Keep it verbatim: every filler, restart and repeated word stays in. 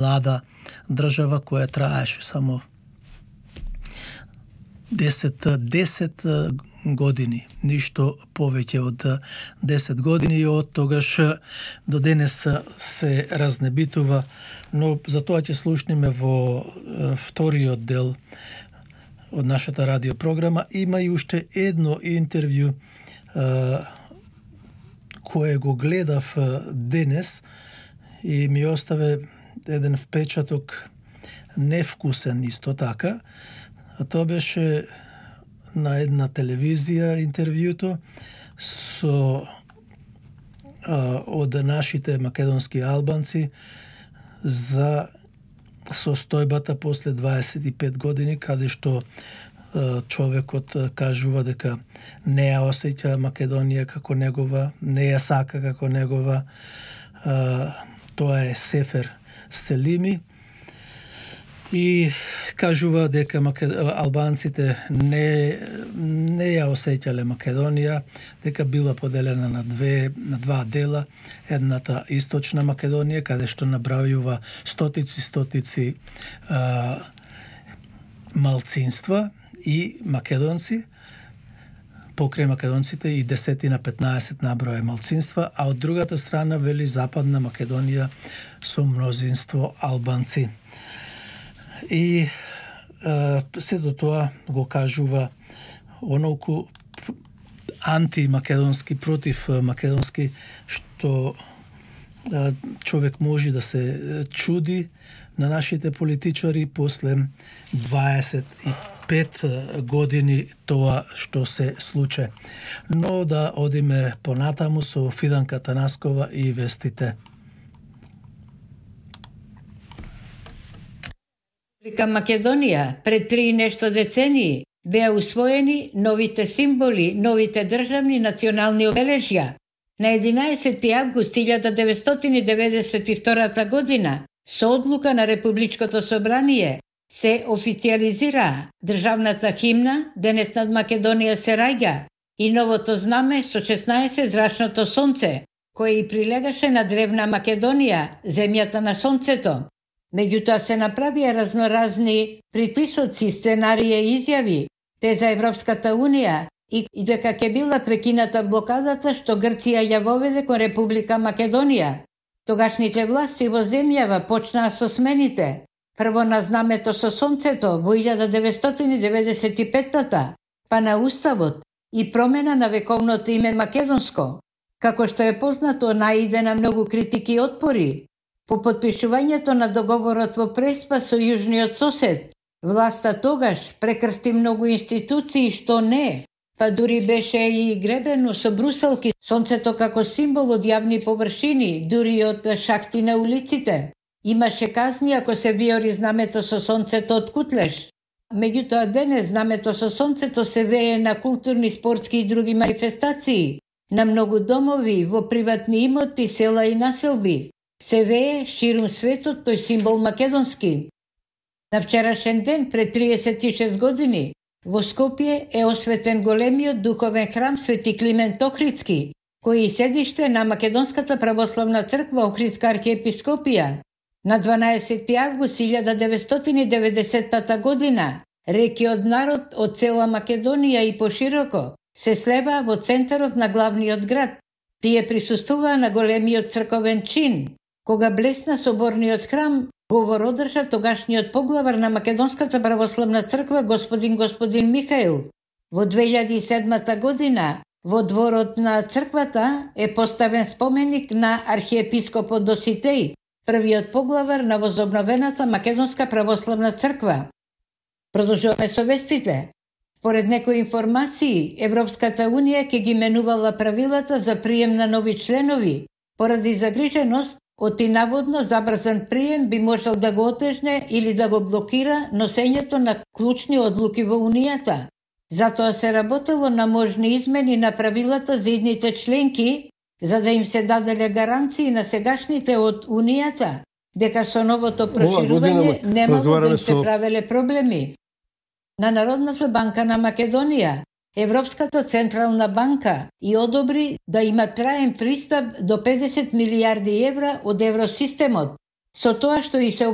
млада држава која траеше само десет, десет години, ништо повеќе од десет години, и од тогаш до денес се разнебитува, но за тоа ќе слушнеме во вториот дел од нашата радиопрограма. Има и уште едно интервју кое го гледав денес и ми оставе еден впечаток невкусен исто така. А тоа беше на една телевизија интервјуто со а, од нашите македонски албанци за состојбата после дваесет и пет години, каде што а, човекот кажува дека не ја осеќа Македонија како негова, не ја сака како негова. А, тоа е Сефер Селими. И кажува дека албанците не не ја осеќале Македонија, дека била поделена на две на два дела, едната источна Македонија каде што набрајува стотици стотици а, малцинства и македонци, покрај македонците и десетина петнаесет наброја малцинства, а од другата страна вели Западна Македонија со мнозинство албанци. И а, се до тоа го кажува онолку антимакедонски, против македонски, што а, човек може да се чуди на нашите политичари после дваесет и пет години тоа што се случи. Но да одиме понатаму со Фиданка Танаскова и вестите. Република Македонија пред три и нешто децении беа усвоени новите символи, новите државни национални обележја. На единаесети август илјада деветстотини деветдесет и втора година со одлука на Републичкото собрание се официализира државната химна, денес над Македонија се раѓа, и новото знаме со шеснаесет зрачното сонце, кое и прилегаше на древна Македонија, земјата на сонцето. Меѓутоа се направија разноразни притисоци, сценарии и изјави, те за Европската Унија и, и дека ќе била прекината блокадата што Грција ја воведе кон Република Македонија. Тогашните власти во земјава почнаа со смените. Прво на знамето со сонцето во илјада деветстотини деветдесет и пета, па на уставот и промена на вековното име македонско. Како што е познато, наиде на многу критики и отпори. По потпишувањето на договорот во Преспа со јужниот сосед, власта тогаш прекрсти многу институции што не, па дури беше и гребено со бруселки сонцето како символ од јавни површини, дури од шахти на улиците. Имаше казни ако се виори знамето со сонцето од кутлеш. Меѓутоа денес знамето со сонцето се вее на културни, спортски и други манифестации, на многу домови, во приватни имоти, села и населби. Се вее ширум светот тој символ македонски. На вчерашен ден, пред триесет и шест години, во Скопје е осветен големиот духовен храм Свети Климент Охридски, кој е седиште на Македонската православна црква Охридска архиепископија. На дванаесети август илјада деветстотини деветдесета година, реки од народ од цела Македонија и пошироко се слева во центарот на главниот град. Тие присуствуваа на големиот црковен чин. Кога блесна соборниот храм, говор одржа тогашниот поглавар на Македонската православна црква господин господин Михаил. Во две илјади и седма година во дворот на црквата е поставен споменик на архиепископот Доситеј, првиот поглавар на возобновената Македонска православна црква. Продолжуваме со вестите. Според некои информации, Европската Унија ќе ги менувала правилата за прием на нови членови, поради загриженост од и наводно забрзан прием би можел да го отежне или да го блокира носењето на клучни одлуки во Унијата. Затоа се работело на можни измени на правилата за идните членки, за да им се даделе гаранции на сегашните од Унијата, дека со новото проширување немало да им се правеле проблеми. На Народната банка на Македонија, Европската централна банка и одобри да има траен пристап до педесет милијарди евра од евросистемот, Со тоа што и се